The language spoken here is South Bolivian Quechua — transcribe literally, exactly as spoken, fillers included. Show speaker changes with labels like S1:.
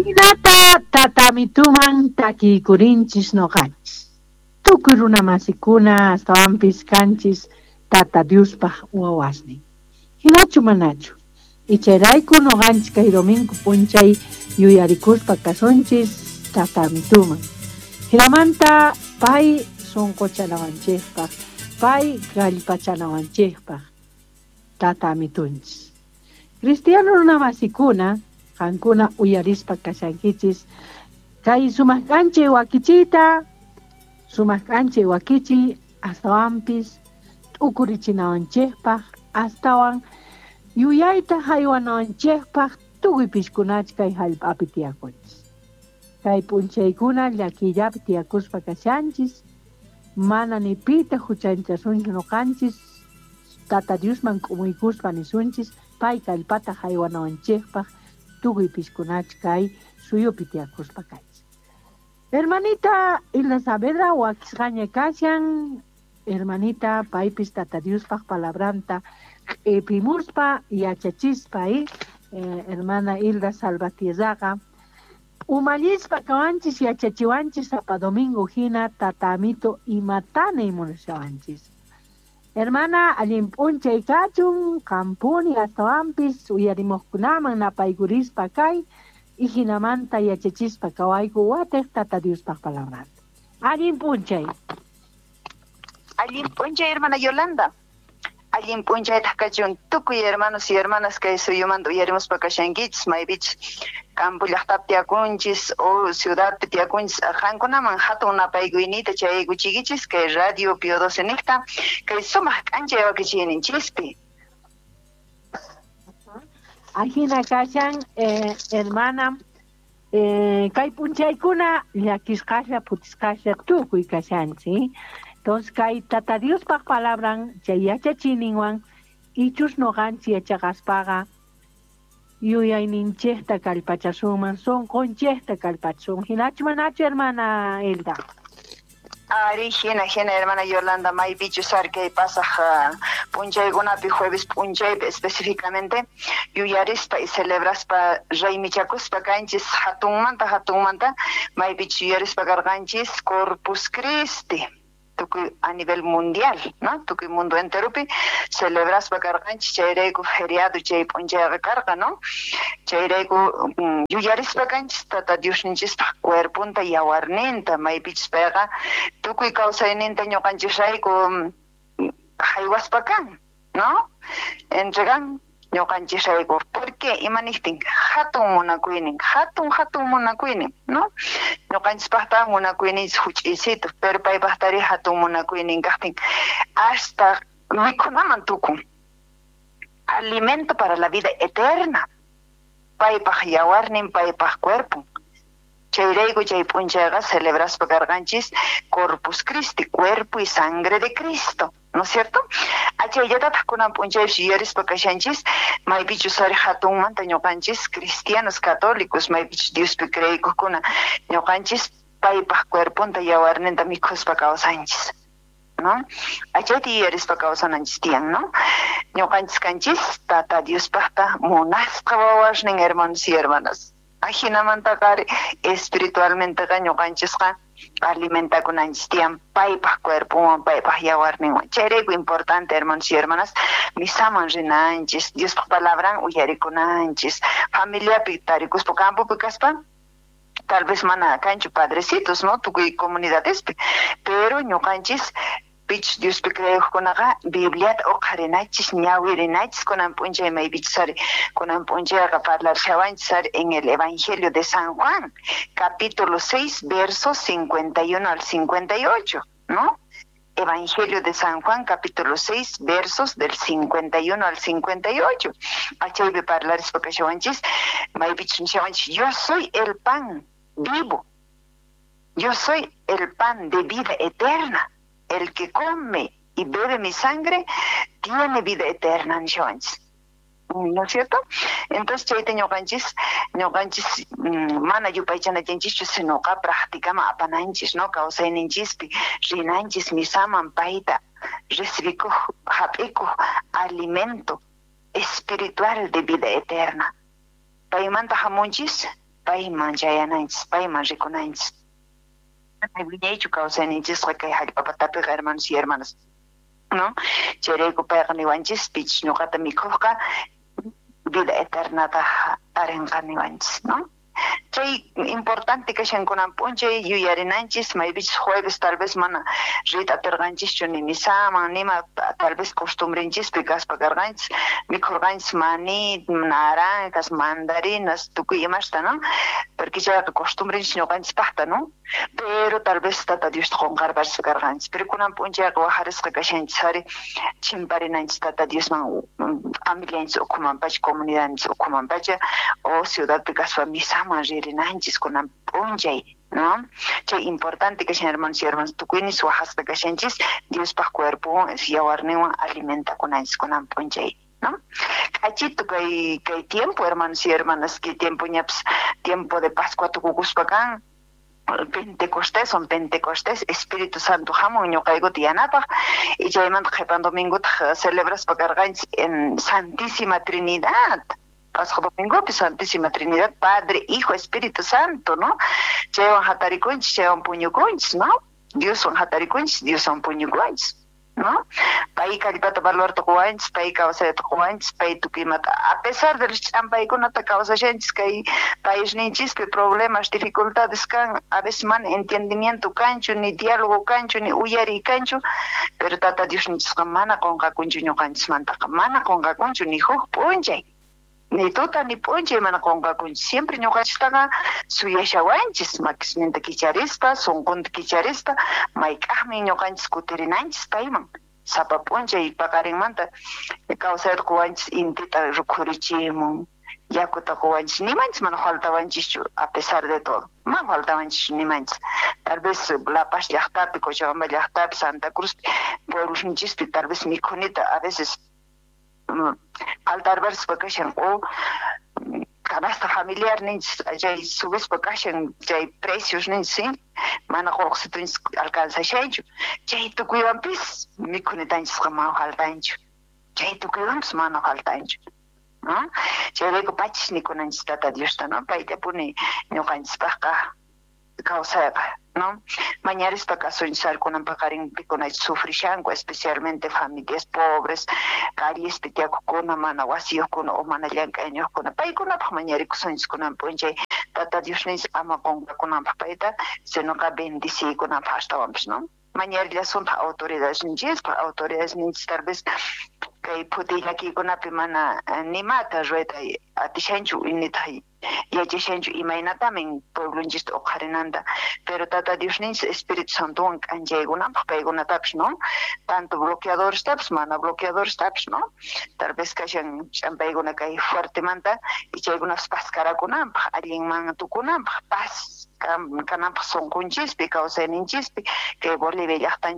S1: Hinata tatamituman takiykurinchis noqanchis. Tukuy runamasikuna astawanpis kanchis tata Diospaj wawasnin. Hinachu manachu. Ichayrayku noqanchis kay domingo p'unchay yuyarikuspa kasunchis tatamituman. Hinamanta pay sunquchanawanchikpaq, pay kallpachanawanchikpaq tatamitunchis. Cristiano runamasikuna qankuna uyarispa kashankichis kay sumaq k'anchay wakichiyta, sumaq k'anchay wakichiy astawanpis t'ukurichinawanchikpaq, astawan yuyayta haywanawanchikpaq tukuy piskunach kay hallp'api tiyakunchis. Kay p'unchaykuna llakiyllapi tiyakuspa kashanchis, mana ni pita huchanchasunchu noqanchis, tata Diosman k'umuykuspa nisunchis pay kallpata haywanawanchikpaq tukuy piskunach kay suyupi tiyakuspa kanchis. Hermanita Hilda Saavedra wakisqaña kashan, hermanita paypis tata Diospaq palabranta q'ipimuspa yachachispa, eh, hermana Hilda Salvatierraqa umallispa kawanchis yachachiwanchis sapa domingo hina tatamito imatana munashawanchis. Hermana, allin p'unchay kachun, qampuni astawanpis uyarimuqkunaman napaykurispa kay y hinamanta yachachispa kawayku watiq tata Diospaq palabranta. Allin p'unchay.
S2: Allin p'unchay, hermana Yolanda. Allin p'unchaytaq kachun tukuy hermanos y hermanas kay suyumanta uyarimuspa kashankichis, maypichis campo llaqtapi tiyakunchis o ciudadpi tiyakunchis, qankunaman hatun napaykuyniyta chayaykuchiykichis kay Radio Pío doce niqta kay sumaq k'anchay wakichiyninchispi.
S1: Ajina kashan, eh, hermana, eh, kay p'unchaykuna llakisqalla phutisqalla tukuy kashanchis. Entonces, kay tata Diospaq palabran chay yachachiyninwan ichus noqanchis yachaqaspaqa yuyayninchikta kallpachasunman, sunqunchikta kallpachasun. Hinachu manachu, hermana Hilda?
S2: Ari, hina, hina, hermana Yolanda, maypichus ari kay pasaj p'unchaykunapi, jueves p'unchaypi específicamente, yuyarispa y celebraspa raymichakuspa kanchis hatunmanta, hatunmanta, maypichus yuyarispa karqanchis Corpus Christi. Tukuy a nivel mundial, ¿no? Tukuy mundo enteropi celebraspa karqanchis chayrayku feriado chay p'unchayqa karqa, ¿no? Chayrayku yuyarispa kanchis tata Diosninchispaq cuerponta yawarninta, maypichus payqa tukuy kawsayninta ñuqanchisrayku haywaspa kan, ¿no? Entregan ñuqanchisrayku. ¿Por qué? Imaniptin hatun munakuynin, hatun hatun munakuynin, ¿no? Ñuqanchispaqta munakuyninchis huch'iysitu, pero paypaqtari hatun munakuynin kaqtin hasta mikhunaman tukun. Alimento para la vida eterna. Paypaq yawarnin, paypaq cuerpon. Chayrayku chay p'unchayqa celebraspa karqanchis Corpus Christi, cuerpo y sangre de Cristo, ¿no es cierto? Achayllatataq kunan p'unchaypis yuyarispa kashanchis, maypichus ari hatunmanta ñuqanchis cristianos católicos, maypichus Diospi creeykuqkuna, ñuqanchis paypaq cuerponta yawarninta mikhuspa kawsanchis, ¿no? Achayta yuyarispa kawsananchis tiyan, ¿no? Ñuqanchis kanchis tata Diospaqta munasqa wawasnin, hermanos y hermanas. Ajinamantaqa ari espiritualmenteqa ñuqanchisqa alimentakunanchis tiyan paypaq cuerponwan, paypaq yawarninwan. Chayrayku importante, hermanos y hermanas, misaman rinanchis, Diospaq palabran uyarikunanchis, familiapi tarikuspa campopi kaspa, tal vez mana kanchu padrecitos, ¿no? Tukuy comunidadespi, pero ñuqanchis pichus Diospi creeqkunaqa Bibliata uqharinachis, ñawirinachis kunan p'unchay maypichus ari kunan p'unchayqa parlarshawanchis ari en el Evangelio de San Juan, capítulo seis, versos cincuenta y uno al cincuenta y ocho, ¿no? Evangelio de San Juan, capítulo seis, versos del cincuenta y uno al cincuenta y ocho. Achaypi parlarispa kashawanchis, maypichus nishawanchis, yo soy el pan vivo, yo soy el pan de vida eterna. El que come y bebe mi sangre tiene vida eterna, nishawanchis. ¿No es cierto? Entonces chayta ñuqanchis, ñuqanchis mana yupaychanachanchischu, sinoqa practicama apananchis, ¿no? Kawsayninchispi rinanchis misaman payta recibikuq, hap'ikuq alimento espiritual de vida eterna. Paymanta hamunchis, Payman chayananchis, payman rikunanchis. Wiñaychu kawsayninchisqa kay hallp'a patapiqa, hermanos y hermanas, ¿no? Chayrayku payqa niwanchis, pichus ñuqata mikhujqa vida eternata tarinqa niwanchis, ¿no? Chay importante kashan kunan p'unchay yuyarinanchis, maypichus jueves tal vez mana riyta atirqanchischu ni misaman, nima tal vez costumbrenchispi kaspa karqanchis, mikhurqanchis maní, naranjas, mandarinas, tukuy imasta, ¿no? Porque chayqa costumbrenchis ñuqanchispaqta, ¿no? Pero tal vez Tata Diosta qunqarpachispa karqanchis. Pero kunan p'unchayqa wajarisqa kashanchis ari chimparinanchis Tata Diosman, familianchis ukhuman pacha, comunidadninchis ukhuman pacha, o ciudadpi kaspa misaman ririnanchis kunan p'unchay, ¿no? Chay importante kashan, hermanos y hermanas, tukuynis wajasqa kashanchis Diospaq cuerpon yawarninwan alimentakunanchis kunan p'unchay, ¿no? K'achito kay kay tiempo, hermanos y hermanas, kay tiempo ñapis tiempo de Pascua tukukuspa kan, Pentecostés, son Pentecostés, Espíritu Santo hamun ñuqaykuta yanapaq, y chaymanta qhipan domingotaq celebraspa karqanchis en Santísima Trinidad. Pasaj domingopi Santísima Trinidad, Padre, Hijo, Espíritu Santo, ¿no? Chaywan hatarikunchis, chaywan puñukunchis, ¿no? Dioswan hatarikunchis, Dioswan puñukunchis, ¿no? Pay kallpata valorta quwanchis, pay kawsayta quwanchis, pay tukuy imata, a pesar de los ch'ampaykunata kawsashanchis kay paisninchispi problemas, dificultades kan, a veces mana entendimiento kanchu, ni diálogo kanchu, ni uyariy kanchu, pero Tata Diosninchisqa mana qunqakunchu ñuqanchismantaqa, mana qunqakunchu ni huk p'unchay, ni tuta ni p'unchay mana qunqakunchu, siempre ñuqanchistaqa suyashawanchis, makisninta kicharispa, sunqunta kicharispa, mayk'aqmi ñuqanchis kutirinanchis payman, sapa p'unchay paqarinmanta kawsayta quwanchis, intita rukhurichimun, yakuta quwanchis, nimanchis mana faltawanchischu a pesar de todo, mana faltawanchischu nimanchis. Tal vez La Paz llaqtapi, Cochabamba llaqtapi, Santa Cruz pueblosninchispi tal vez mikhunita a veces faltarparispa kashan, o canasta familiar ninchis chay subispa kashan chay precios ninchis, ¿sí? Mana qullqisitunchis alcanzashanchu, chay tukuywanpis mikhunitanchisqa mana faltanchu, chay tukuywanpis mana faltanchu, ¿no? Chayrayku pachis nikunanchis Tata Diosta, ¿no? Payllapuni ñuqanchispaqqa kawsayqa, ¿no? Mañarispa kasunchis kunan paqarin pikunachus sufrishanku, especialmente familias pobres, callespi tiyakukuna, mana wasiyuqkuna o mana llank'ayniyuqkuna, paykunapaq mañarikusunchis kunan p'unchay Tata Diosninchis ama qunqakunanpaq payta, sinoqa bendiciykunanpaq astawanpis, ¿no? Mañarillasuntaq autoridadesninchispaq, autoridadesninchis tal vez kay phutiy llakiykunapi mana nimata ruwayta atishanchu, nitaq yachashanchu imaynatamin pueblonchista uqharinanta, pero Tata Diosninchis Espíritu Santowan k'anchaykunanpaq paykunatapis, ¿no? Tanto bloqueadorestapis, mana bloqueadorestapis, ¿no? Tal vez kashan ch'ampaykuna kay fuertemanta y chaykunapis paskarakunanpaq, allinman tukunanpaq, paz kananpaq sunqunchispi, kawsayninchispi, kay Bolivia llaqtanchis.